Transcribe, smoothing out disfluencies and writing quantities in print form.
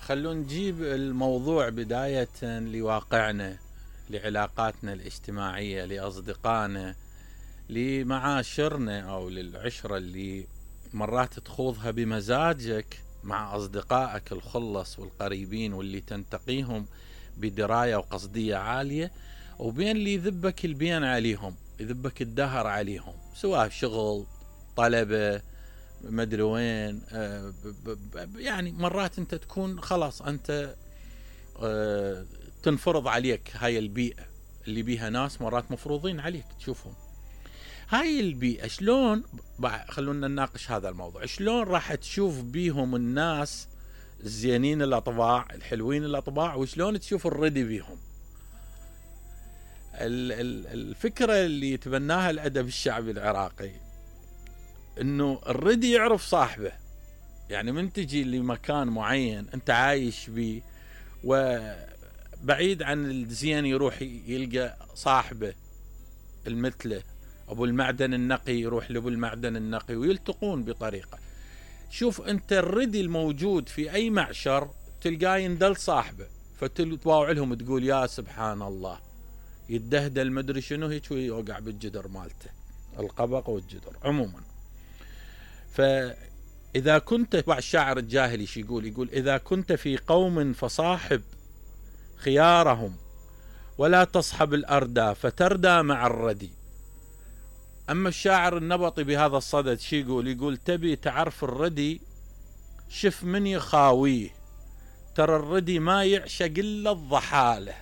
خلونا نجيب الموضوع بداية لواقعنا، لعلاقاتنا الاجتماعية، لأصدقائنا، لمعاشرنا أو للعشرة اللي مرات تخوضها بمزاجك مع أصدقائك الخلص والقريبين واللي تنتقيهم بدراية وقصدية عالية، وبين اللي يذبك البين عليهم، يذبك الدهر عليهم، سواء شغل، طلبة، مدري وين. يعني مرات انت تكون خلاص انت تنفرض عليك هاي البيئة اللي بيها ناس مرات مفروضين عليك تشوفهم. هاي البيئة شلون خلونا نناقش هذا الموضوع، شلون راح تشوف بيهم الناس الزينين الاطباع الحلوين الاطباع، وشلون تشوف الردي بيهم. الفكرة اللي يتبناها الأدب الشعبي العراقي انه الردي يعرف صاحبه، يعني من تجي لمكان معين انت عايش بيه وبعيد عن الزين يروح يلقى صاحبه المثله، ابو المعدن النقي يروح لابو المعدن النقي ويلتقون بطريقة. شوف انت الردي الموجود في اي معشر تلقاه يندل صاحبه، فتتواوع لهم تقول يا سبحان الله، يتدهدل مدري شنو هيك ويوقع بالجدر مالته، القبق والجدر عموما. فإذا كنت الشاعر الجاهلي شي يقول إذا كنت في قوم فصاحب خيارهم ولا تصحب الأردى فتردى مع الردي. أما الشاعر النبطي بهذا الصدد شي يقول تبي تعرف الردي شف من يخاويه، ترى الردي ما يعشق إلا الضحالة.